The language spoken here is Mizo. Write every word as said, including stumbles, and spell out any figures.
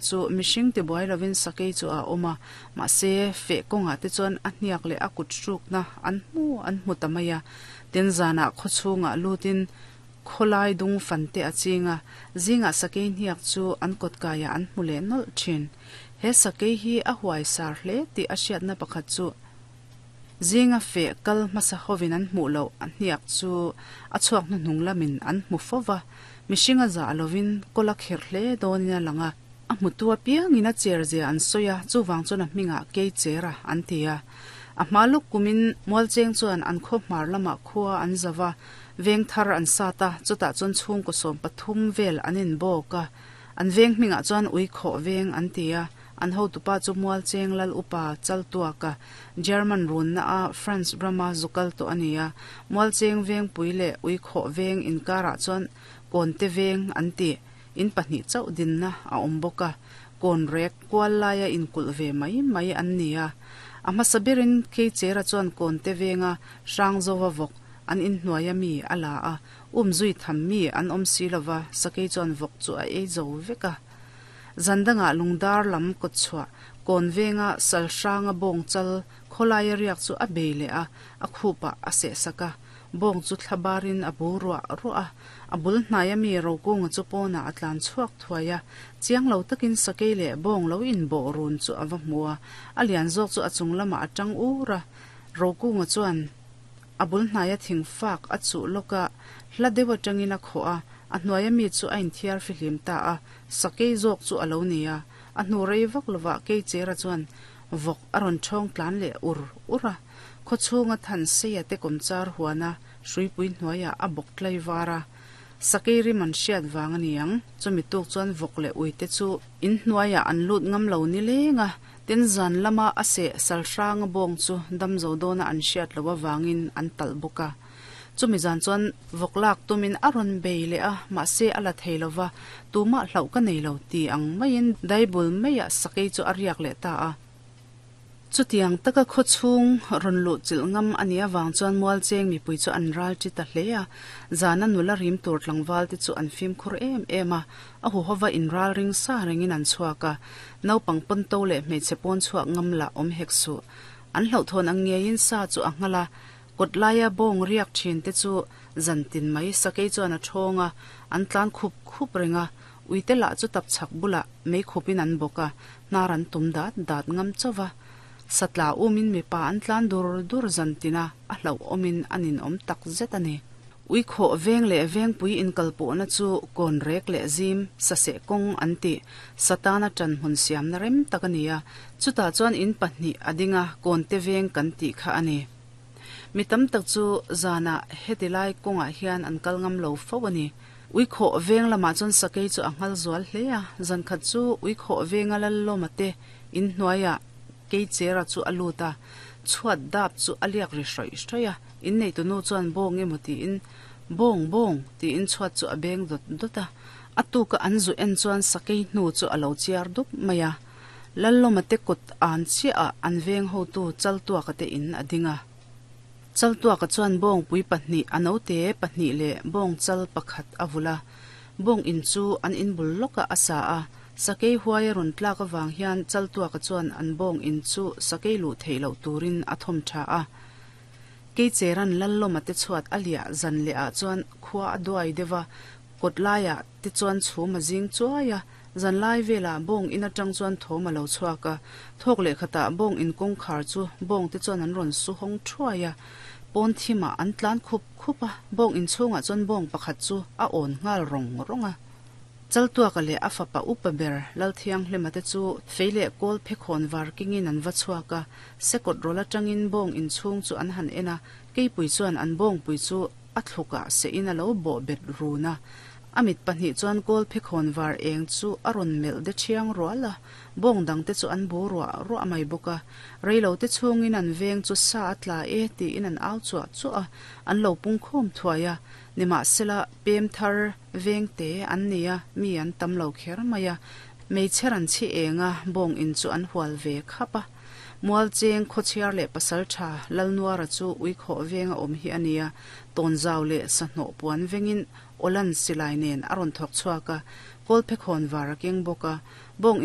Chu mihring tibuai lovin sakei chu a awm a, mahse feh kawngah te chuan a hniak leh a kut hrukna an hmu an hmu ta mai a. Tin zanah khaw chhungah lutin khawlai dung fan te a ching a, zingah sakei hniak chu an kawt kaiah an hmu leh nawlh thin. He sakei hi a huai sar hle tih a hriatna pakhat chu zinga feh kal hmasa hovin an hmuh loh a hniak chu a chhuak hnuhnung lamin an hmu fo va, mihring a zah lovin kawl a kherh hle dawnin a lang a. A hmutu apiangin a cher zia an sawi a, chuvang chuan a hmingah kei cher a an ti a. A hma luk kumin Mualcheng chuan an khaw hmar lamah khua an zau a, veng thar an sat a, chutah chuan chhungkaw sawm pathum vel an inbawk a. An veng hmingah chuan ui khawh veng an ti a, an hotupa chu Mualcheng lal upa Chaltuaka, German runna a France rama zukal tawh a ni a. Mualcheng vengpui leh ui khawh veng inkarah chuan Kawnte veng an ti. In pahnih chauh dinna a awm bawk a, kawn rek kual laia inkulh ve mai mai an ni a. A hmasa berin Keichera chuan kawnte venga Hrangzova vawk an inhnuaia mi a la a, um zui tham mi an awm si lova, sakei chuan vawk chu a ei zo vek a. Zan dangah lungdar lam kawtchhuah kawn venga sal hranga bawng chal khawlaia riak chu a bei leh a, a khupah a sehsak a. Bawng chu thla barin a bu ruah ruah a, a bul hnaia mi Rokunga chu pawnah a tlan chhuak thuai a, chiang lo takin sakei leh bawng lo inbawh run chu a va hmu a, a lian zawk chu a chung lamah a tang ur a, Rokunga chuan a bul hnaia thing fak a chuh lawk a, hla deuh atangin a khawh a, a hnuaia mi chu a inthiar fihlim ta a, sakei zawk chu a lo ni a, a hnu rei vak lovah Keichera chuan vawk a rawn thawng tlan leh ur ur a. Khawchhunga than seia te kawmchar huana hruipui hnuaiah a bawk tlai var a, sakei rim an hriat vang a ni ang. Chumi tuk chuan vawk leh uite chu in hnuaiah an lut ngam lo ni leng a, tin zan lama a seh sal hranga bawng chu damzo dawna an hriat loh avangin an talh bawk a. Chumi zan chuan vawk lak tumin a rawn bei leh a, mahse a la thei lo va, tumah hlauh ka nei lo ti ang maiin daibul maiah sakei chu a riak leh ta a. Chutiang taka khaw chhung rawn luh chilh ngam a nih avang chuan Mualcheng mipui chu an ral ṭi ta hle a, zana nula rim tur tlangval te chu an fimkhur em em a, a huhova inral ring sa rengin an chhuak a, naupang pawnto leh hmeichhe pawn chhuak ngam lah awm hek suh. An hlauhthawn ang ngeiin sa chu a nghal a, kawt laia bawng riak ṭhin te chu zan tin mai sakei chuan a ṭhawng a, an tlan khup khup reng a, uite lah chu tapchhak bulah mei khupin an bawk a, hnar an tum dat dat ngam chauh va. Satla umin mipa an tlan dur dur zan tin a, a hlauhawmin a ninawm tak zet a ni. Ui khawh veng leh vengpui inkalpawhna chu kawn rek leh zim, saseh kawng an tih, Satana ṭan hmun siamna rem tak a ni a, chutah chuan in pahnih a ding a, kawnte veng kan tih kha a ni. Mi tam tak chu zanah heti lai kawngah hian an kal ngam lo fo a ni. Ui khawh veng lamah chuan sakei chu a nghal zual hle a, zan khat chu ui khawh venga Lallawma te in hnuaiah Keichera chu a lut a, chhuat dap chu a liak ri hrawih hrawih a, inneitu nu chuan bawng emaw tiin, Bawng, bawng, tiin chhuat chu a beng dawt dawt a. A tuka an zu en chuan sakei hnu chu a lo chiar dup mai a. Lallawma te kut an chiah ah an veng hotu Chaltuaka te in a ding a. Chaltuaka chuan bawngpui pahnih a note pahnih leh bawng chal pakhat a vulh a. Bawng in chu an inbul lawkah a sa a. Sakei huai a rawn tlak avang hian Chaltuaka chuan an bawng in chu sakei luh theih loh turin a thawm tha a. Keicheran Lallawma te chhuat a liah zan leh ah chuan khua a duai deuh a, kawt laiah te chuan chhum a zing chuai a, zan lai velah bawng in atang chuan thawm a lo chhuak a, thawk leh khatah bawng in kawngkhar chu bawng te chuan an rawn su hawng thuai a, pawn thimah an tlan khup khup a, bawng in chhungah chuan bawng pakhat chu a awn nghal rawng rawng a. Chaltuaka leh a fapa upa ber Lalthianghlima te chu fei leh kawl phekhawn var kingin an va chhuak a, sekawt rawl atangin bawng inchhung chu an han en a, keipui chuan an bawngpui chu a thlukah sehin a lo bawh bet run a. A mit pahnih chuan kawl phekhawn var eng chu a rawn melh de thiang rual a, bawng dangte chu an bu ruah ruah mai bawk a. Reilote chhungin an veng chu sa a tla e tiin an au chuah chuah a, an lo pungkhawm thuai a. Nimahsela, pem thar vengte an ni a, mi an tam lo kher mai a. Meichher an chhi eng a, bawng in chu an hual ve khap a. Mualcheng khawchhiar leh pasal tha Lalnuara chu uikhawh venga awm hi a ni a, tawnzau leh sahnawh puan vengin Awlan silai nen a rawn thawk chhuak a, kawlphekhawn var a keng bawk a. Bawng in